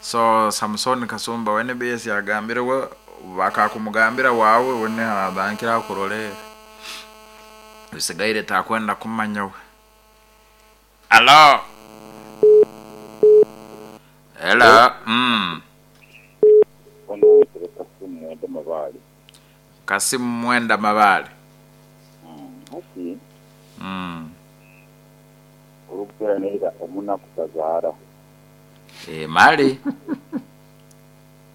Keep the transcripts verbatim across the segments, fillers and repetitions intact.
So Samson Kasumba we N B S yagambire we bakakumugambira wawe wene adankira akurolera bisigaire takwenda kumanya we. Alo, hello mm. Ono wetere Kasimu Mwenda Mabale. Kasimu Mwenda Mabale. Hati mm. olugera omunaku tazaara. E, mali.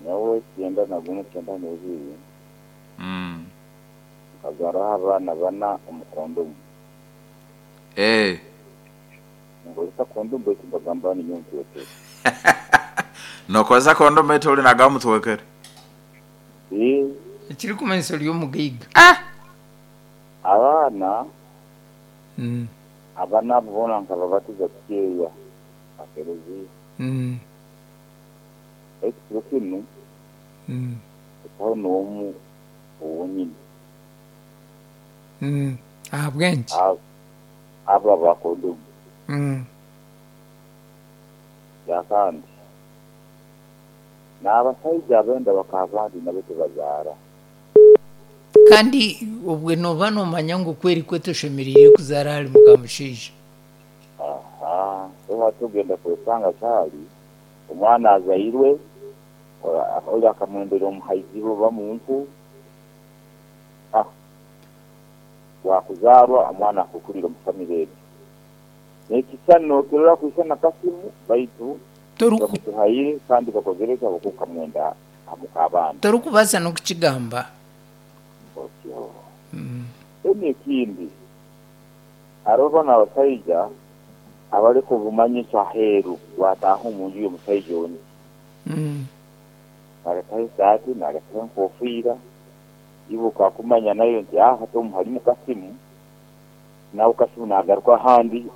Nyawe kyenda na gumu, kyenda n'ebiri, mm. nkazaaraho abaana bana omu kondomu. e. Nkozesa kondomu baitu mbagamba ninyo ntwekere. Nokozesa kondomu eti oli nagamu twekere? Ee. Ekirikumanyisa ori omugaiga. Abaana Mm. abana abo boona nkababatiza kukyeya akereziya. Mm. Baitu kiro kinu Mm. ekaho n'omu owonyini. Mm. Ahabw'enki? Abo aba kondomu. Mm. Yakandi n'abasaija abenda bakabandi nabo tebazaara. Kandi obwe noba nomanya ngu kweri kwe toshemereire kuzaara ahari mukamushaija. Aha, so tugenda kwesanga kyali omwana azairwe ora- oli akamwendera omuhaizi oba muntu, ah, wakuzaarwa omwana akukurira omu famire egyo nekisani nokirora kwisana Kasimu baitu Toruku- bamutuhaire kandi bakozereka okukamwenda amuka abandi. Torikubaasa n'okukigamba. Otyo. Mm. Then ekindi, hariho bano abasaija abariko bumanyisa aheeru, wataaha omunju y'omusaija oni, Mm. narekaho esaati, narekaho enkofiira, iwe okakumanya nayo nti aha hati omu harimu Kasimu, nawe Kasimu nagaruka ahandi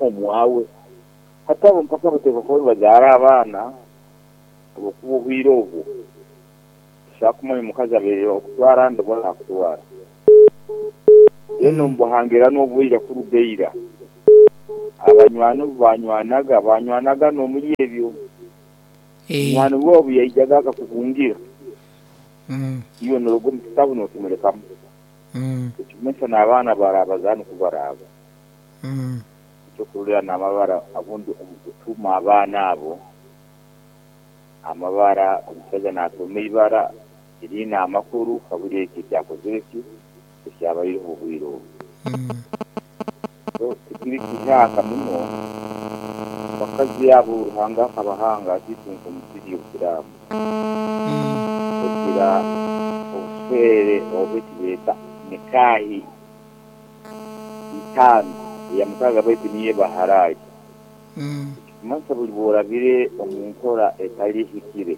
omwawe. Hati abo mpaka bateekwa kuba nibazaara abaana obukuba obwire obwo tushaka kumanya omukazi abeire okutwara ndibona akutwara, then omubuhangira n'obwira kurugaira abanywani obu banywanaga banywanaga n'omuri ebyo. Eh. Omwani bwe obu yaijaga akakuhungira, Mm. iwe noruga omu kitabu nokimurekamu. Mm. Ekimanyisa n'abaana barabazaana okubaraaba. Mm. Ekyokurorera n'amabara abundi omu kutuma abaana abo amabara, omusaija natuma ibara eriine amakuru kaburi eki ekyakozire ki ekyabaireho obwire obu. Mm. So tikiri kihaka muno bakazi abo Ruhanga akabahanga atitunka omusiri obusiraamu. Mm. Kugira obuswere oba ekibeeta nikahi itaano, eya mukaaga baitu niyo baharayi. Mm. Ekikumanyisa buli bworabire omu nkora etali ehikire,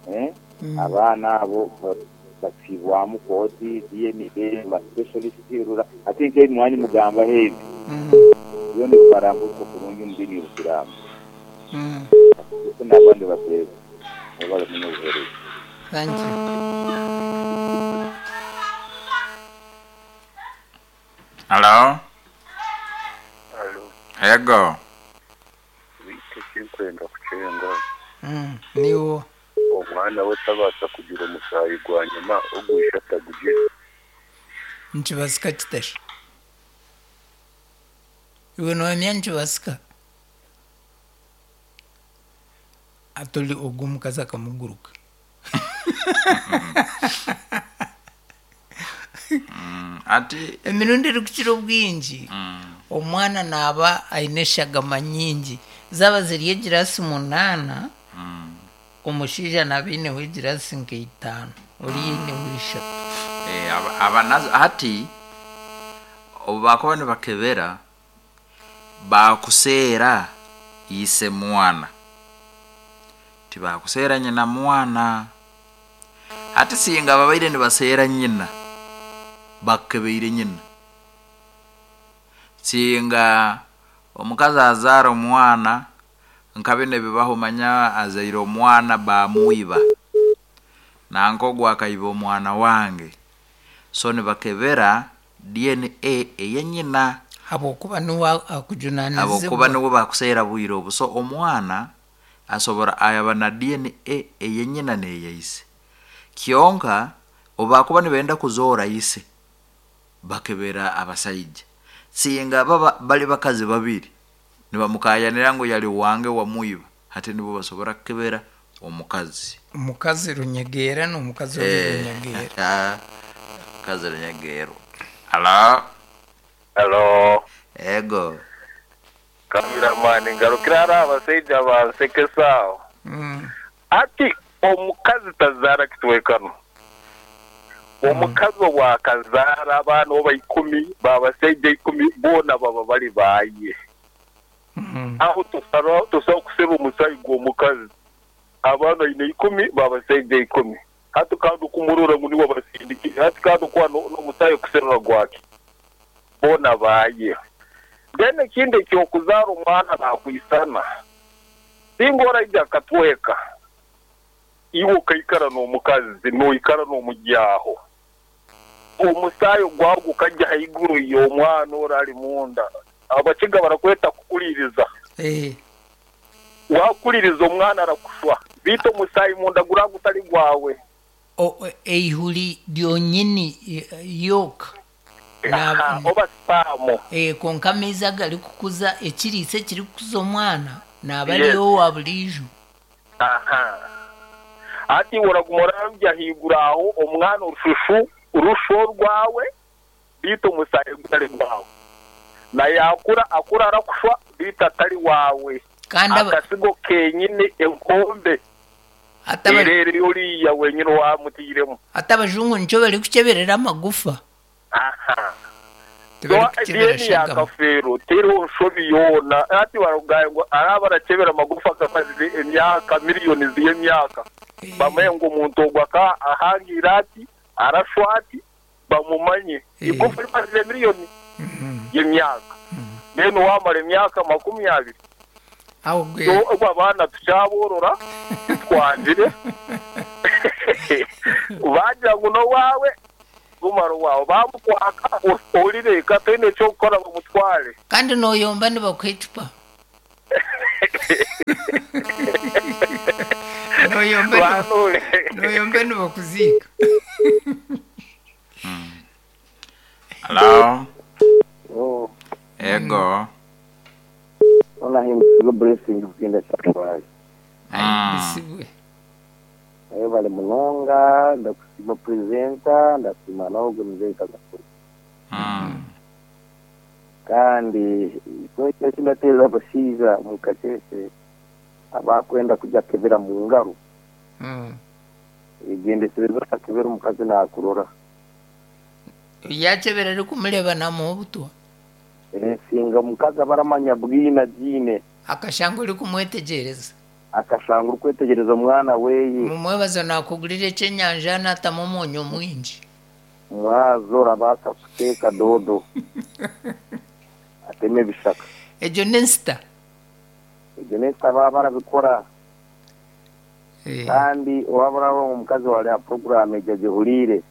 eh? Mm. Abaana abo ba- bacibwamu kooti D N A ba specialist rura ate nk'ebimwanyi mugambaho ebi, Mm. byona bikarambuka kurungi omu diini y'obusiraamu. Mm. Ese n'abandi bateeza mubale muno obuheereza. Thank you. Alo. Alo. Ego. Bite kinkwenda kucenga. Mm. Niwo. Omwana we tabaasa kugira omusaayi gwa nyuma ogwisha atagugira? Nikibasika kitasha? Iwe nohamya nikibasika? Atoli ogwo omukazi akamuguruka. Ati Emirundi erikukira obwingi, omwana naaba aine eshagama nyingi, zaaba ziri egirasi munaana, omushaija naaba aineho egirasi nka itaano, ori aineho ishatu. Eh, aba- abanazo hati obu bakuba nibakebera bakuseera ise mwana, tibakuseera nyina mwana. Hati singa babaire nibaseera nyina, bakebeire nyina. Singa omukazi azaara omwana nka bino ebibaho, manya azaire omwana bamwiba, nanka ogwo akaiba omwana wange, so nibakebera D N A eyenyina. Habwokuba niwe Habwokuba akujunanizibwa. Niwe bakuseera bwire obu, so omwana Asobora ayaba na D N A eyenyina neyeise. Kyonka obakuba nibenda kuzoora ise bakebera abasaija. Singa baba bali bakazi babiri nibamukayanira ngu yali wange wamwiba, hati nibo basobora kukebera omukazi. Omukazi runyegera n'omukazi Eh, runyegera. Mukazi runyegero. Hello. Hello. Ego. Cameraman ngarukira ari abasaija bansekesaaho. Mm. Ati omukazi tazaara kitwekano. Omukazi obwakazaara abaana oba ikumi, babasaija ikumi, boona baba bari baaye. Mm. Aho tusaba tusaba kuseba omusayi gw'omukazi. Abaana ine ikumi, babasaija ikumi. Hati kandi kumurora ngu niwe basindikire, hati kandi kwa n'omusayi kuserura gwake. Boona baaye. Then ekindi ekyokuzaara omwana nakwisana. Singa oraija akatweka, iwe okaikara n'omukazi, noikara n'omugyaho. Omusaayi gwawe gukajja haiguru y'omwana ora ari munda. Abakiga barakweta kukuliriza. Eh. Wakuliriza omwana arakushwa. Bito omusaayi munda guragutari gwawe. O eihuri ryonyini yoka. Na oba spamo. Eh, konka amaizi agari kukuza ekiriisa ekiri kukuza omwana naba ariyo wa burijo. Aha. Ati oraguma orabya haiguru aho omwana orushushu urusho rwawe bito omusaayi gutari gwawe. Na yakura akura arakushwa bito atari wawe. Kandi akasigo kenyine enkombe. Erere oriya wenyine wamutiremu. Ate abajungu nico bari kukeberera amagufa. Aha. Yakafero teriho nshobi yoona ati barugaye ngo araba arakebera amagufa akamaze emyaka miliyoni z'emyaka. Bamwe ngo omuntu ogwo aka ahangira ati arashwa ati bamumanye igufa rimaze miliyoni y'emyaka. Then wamara emyaka makumi abiri. Ubwo abana tucyaborora twangire bagira ngo no wawe gumaro wawe bamukwaka orireka tene cyo gukora bamutware. Kandi noyomba nibakwicupa. Noyomba noyomba nibakuzika. Hello. Oh. Ego. Ona him blessing kugenda cyakwaye. Ai Ayo bali munonga ndakusima presenter ndasima nawo mzee kagakuru. Mm. Kandi icyo kindateza abashiza mu kacece abakwenda kujya kebera mu ngaro. Mm. Igende sebeza kebera omukazi nakurora. Yakebera ari kumureba namuha obutwa. Eh, singa omukazi abaramanya bwina jine. Akashanga uri kumwetegereza. Akashanga uri kwetegereza omwana weye. Mumwebaza nakugurira ekyenyanja natamu omunyu mwingi. Mwazo orabasa kuteeka dodo. Ateme ebishaka. Egyo n'ensita. Egyo n'ensita baba barabikora. Eh. Kandi waba omukazi wari aha porogaramu egyo agihuriire.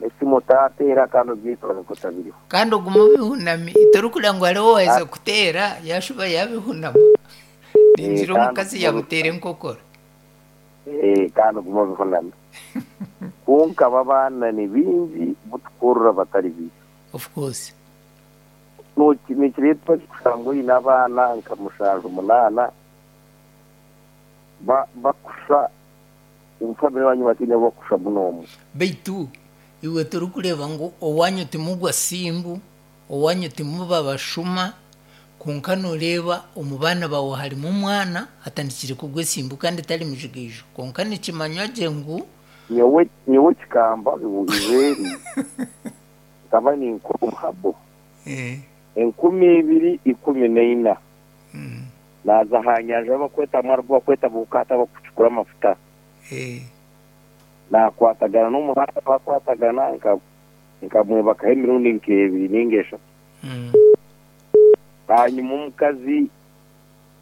Esimu tateera kandi obyitwaza ko tabiriho. Kandi oguma obihunami torikugira ngu hariho owaheza kuteera yashuba yabihunama. Ningira omukazi yabuteera enkokora. Eh, kandi oguma obihunami. Konka abaana ni bingi butukurura batari bibi. Of course. Nikireetwa kusanga oine abaana nka mushanju munaana bakusha omufamire wanyu batiine bakusha munonga. Beitu iwe turikureeba ngu owanyu timugwa simbu, owanyu timuba bashuma, konka noreeba omu baana bawe harimu omwana atandikire kugwa esimbu kandi tari mujigaijo. Konka nikimanywa gye ngu nyowe nyowe kikamba izeeri nkaba ninkora omuhabo. Eh. Enkumi ibiri ikumi n'eina. Mm. Naza aha nyanja bakweta mwarwo bakweta bukata bakucukura amafuta. Eh. Nakwatagana n'omuhanda bakwatagana nka nkamwebakaho emirundi nk'ebiri ninga eshatu. Mm. Hanyuma omukazi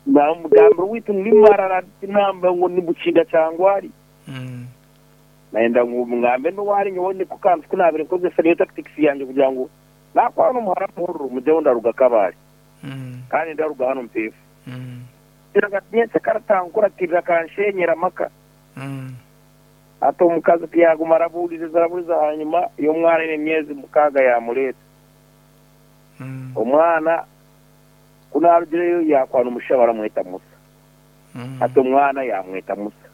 namugambira witu nimarara namba ngu nibukinda cyangwa ari. Mm. Naenda ngu ngambe n'owari nyowe niko kantu kunabire nkozesa niyo tactics yanjye kugira ngu nakwana omuhara muhururu mujeho ndaruga Kabale. Mm. Kandi ndaruga hano mpefu. Mm. Kiraga karatankuratira kanshenyera maka. Mm. Ate omukazi tiyaguma arabuuliriza arabuuliza hanyuma y'omwana ine emyezi mukaaga yamuleeta. Mm. Omwana kunarugireyo yakwana omushaija baramweta Musa. Mm. Ate omwana yamweta Musa.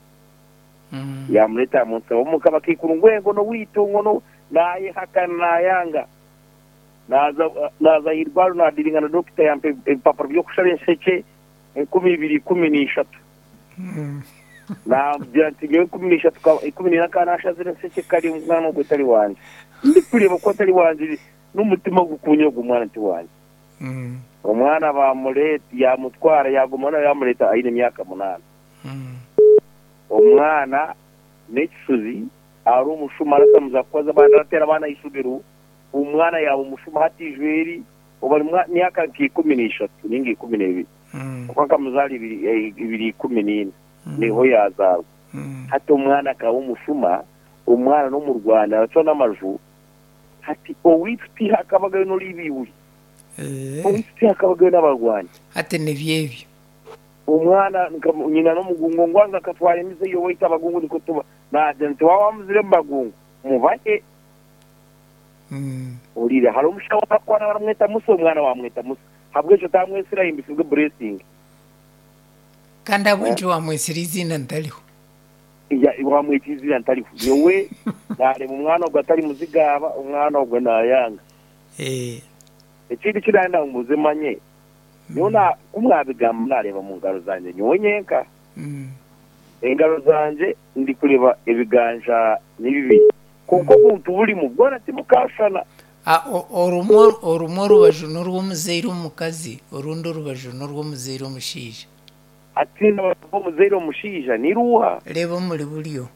Mm. Yamuleta Musa. Omuka bakikuru ngwengo no witu ngono nayehakana nayanga. Naza naza irwaro nadiringa na dokita yampe ebipapuro by'okushaba ensheke enkumi ibiri ikumi n'ishatu. Mm. Nagira nti ngewe ikumi n'ishatu ka- ikumi n'ina ka nashazire enseke kari omwana ogwo tari wanje. Ndi kureba ko atari wanje n'umutima gukunye ogwo mwana nti wanje. Mm. Omwana bamuleta yamutwara yaguma nawe yamuleta aine emyaka munaana. Mm. Omwana n'ekishuzi ari omushuma aratamuza kukoza abaana aratera abaana ishubiro omwana yaba omushuma hati ijweri oba ari mwa- myaka nk'ikumi n'ishatu ninga ikumi n'ebiri Mm. kuko akamuzaara ibiri eh, ibiri ikumi n'ina Mm. niho yazaarwa. Mm. Hati omwana akaba omushuma omwana n'omu Rwanda aracwa n'amaju hati owaitu tihakabagayo n'oribiiburi Eh. owaitu tihakabagayo n'abarwanyi. Hati nibyebyo. Omwana nka- nyina n'omugungu ngwanga akatwara emize yowaitu abagungu niko tuba nagira nti waba wamuzire mu bagungu mubahe. Mm. Orire hari omushaho akwana baramweta Musa omwana wamweta Musa habwekyo tamwesira ahimbisibwe blessing. Kandi abwenki wamwesera izina ntariho. Ya wamweta izina ntariho nyowe nareba omwana ogwo atari muzigaba omwana ogwo nayanga. Eh. Ekindi kiranda mbuze manye nyowe na kumwabigamba nareba mu ngaro zanje nyowe nyenka. Mm. Engaro zanje ndi kureba ebiganja ni bibiri kuko omuntu burimu bwona timukashana. Ah, o- orumwe orumwe orubaju n'orw'omuzaire omukazi orundi orubaju n'orw'omuzaire omushaija. Ati n'omuzaire omushaija ni ruha. Reba omuri buryo.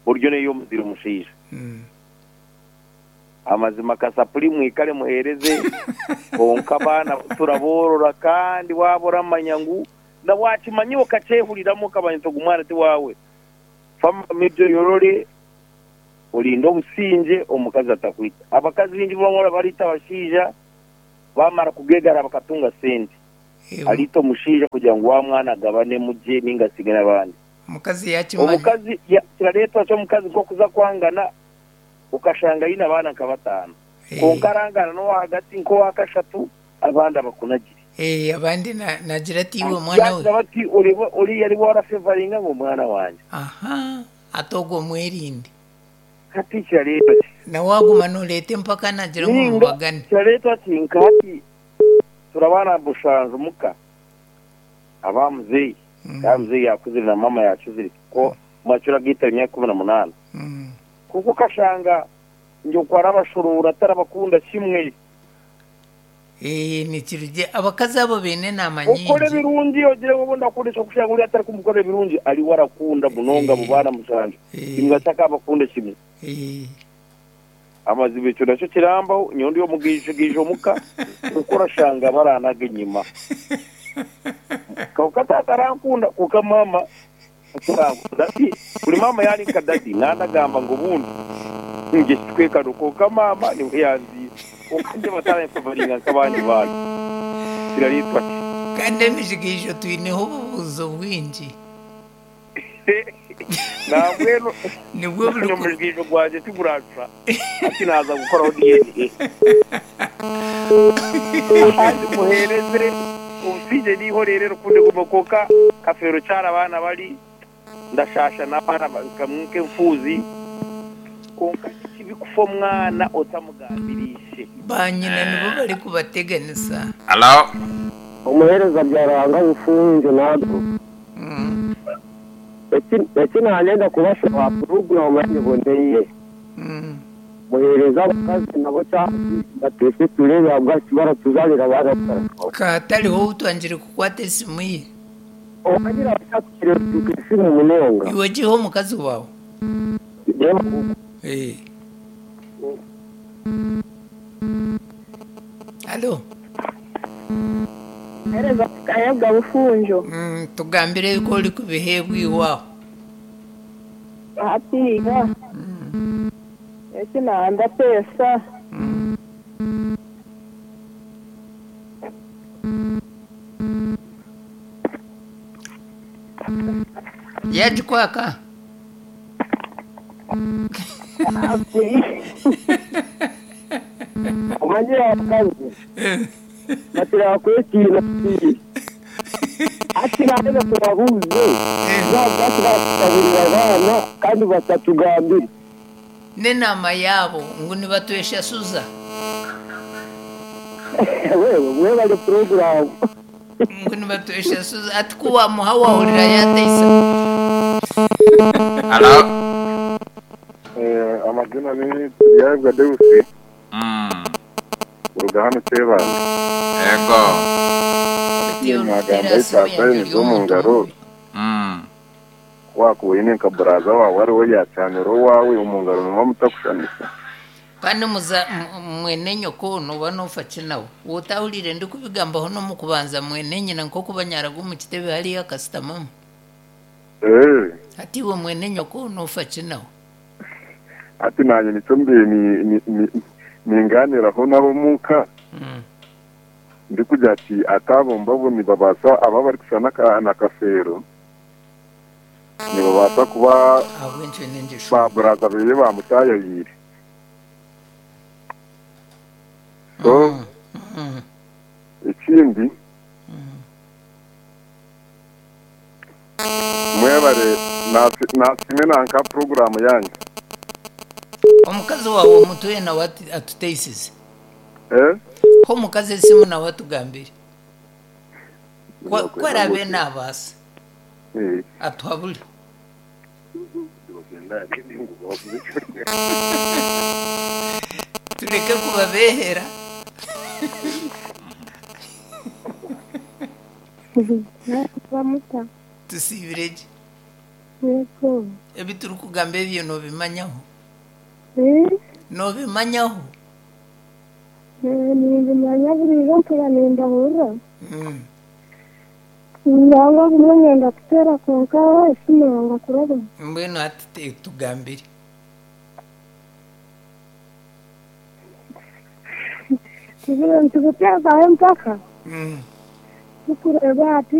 Buryo neyo omuzaire omushaija. Mm. Amazima kasapuri mwikare muhereze konka abaana turaborora kandi waba oramanya ngu na wakimanyi okakyehuriramu okamanya nti ogu mwana ti waawe. Fama mibyo yorore orinde obusinge omukazi atakwita. Abakazi baingi bamwe barita abashaija bamara kugegara bakatunga sente. Eh, Arita omushaija kugira ngu wa mwana agabane mugye ninga asige n'abandi. Omukazi yakimanya. Omukazi ya- kirareetwa ky'omukazi nk'okuza kwangana ukashanga yine abaana nka bataano. Eh. Konka arangana n'owa hagati nk'owa kashatu abandi abakunagire. Eh, abandi na- nagira ati iwe mwana we. Yagira bati oreba oriya ari warafevaringa ngo mwana wanje. Aha, ate ogwo mwerinde. Hati kirareetwa ki? Na waguma noreeta empaka nagira ngu Ninga mubagane. kirareetwa ki nka hati turabana bushanju muka aba muzeeyi. Mm. Ka muzeeyi yakuzire na mama yakuzire ko mwacura gita imyaka kumi na munaana. Mm. Kuko kashanga nje okwara abashorora atarabakunda kimwe. Eh, nikirugye abakazi abo beine enaama Okora nyingi. ebirungi ogire ngu obundi akunda ekyokushanga ori atari kumukora ebirungi ari we arakunda munonga Eh. abo baana mushanju. Eh. Imbwa atakabakunda kimwe. Eh. Amazima ekyo nakyo kirambaho nyowe ndi omugiijo omuka kuko orashanga baranaga enyima. Konka taata arankunda konka maama atarankunda. Ati buri maama yari nka dadi nandagamba ngu obundi nje kikwekano konka maama niwe yanziire. Konka nje bataranfevaringa nk'abandi bantu. Kirareetwa ki? Kandi emijigiijo twineho obubuuzo bwingi. Nambwenu Nibwo buri ku- omujigiijo gwangye tiguracwa ati naza gukoraho D N A. Kandi muhereze obusinge nihorere rukunde guma konka kafeero kyara abaana bari ndashasha n'abaana ba- kamwe nk'enfuuzi konka kibi kufa omwana otamugambirishe. Ba nyina nibo bari kubateganisa. Hello. Omuhereza byaranga bufunze nabwo. Mm. Eki nanyenda kubashaba porogaramu yanyiboneye. Mm. Muhereza abakazi nabo cyangwa batese turebe abwaki baratuzalira barakara. Katariho utwangire kukwata esimu ye. Owagira abashakire isimu munonga. Iwe giho omukazi wawe. Reba Eh. Alo. Hereza kayabwa bufunjo. Mm, tugambire ko uri kubihebwa iwawe. Hatiga. Mm. Eki nanda pesa. Mm. Yagikwaka. Omanyire abakazi batera kwetiina ati naaba tubabuuze baba batusabirira abaana kandi batatugambire N'enaama yaabo ngu nibatweshasuza. Wewe mwebale puroguramu. Ngu nibatweshasuza ati ku wamuha wahurira yateisa. Alo. Eh, amazina ni Turyabwa Deusi Mm. kuruga hano Kyebando. Ego. Mwagamba isaasa zo mu ngaro Mm. wakuwine nka buraza wawe ariwe yacanira owawe omu ngaro nimwo mutakushanisa. Kandi muza m- mwene nyoko noba nofa ki nawe wotahurire ndikubigambaho n'omukubanza mwene nyina nk'okubanyaraga omu kitebe hariyo akasitamamu. Eh, Ati iwe mwene nyoko nofa ki nawe. ati nanye nicyo mbiye ni- ni- ni- ninganiraho nabo muka Mm. ndi kugira ati atabo mbabo nibabasa aba bari kushana ka- na kafeero nibabasa kuba Ahabw'enki n'engisho. ba buraza beye bamutayayire so Mm. ikindi mwebare nasi- nasime nanka poroguramu yanyu. Omukazi wawe omutuye nawe ati- atuteisize. Eh? Ho omukazi esimu nawe atugambire. Kwa- Kwarabe nabaasa Eh. atuhabure. Tureke kubabehera. Bamuta. Tusiibire gye. Yego. Ebi turikugamba ebyo noobimanyaho. Eh, Noobimanyaho. eh, nimbimanya burijo mpura nindahurira. Mm. Nangwa bumwe nyenda kuteera kwonka esimu yanga kuraba. Mbwenu hati te- tugambire. Tubire nitubuteekaho empaka. Mm. Tukureeba hati.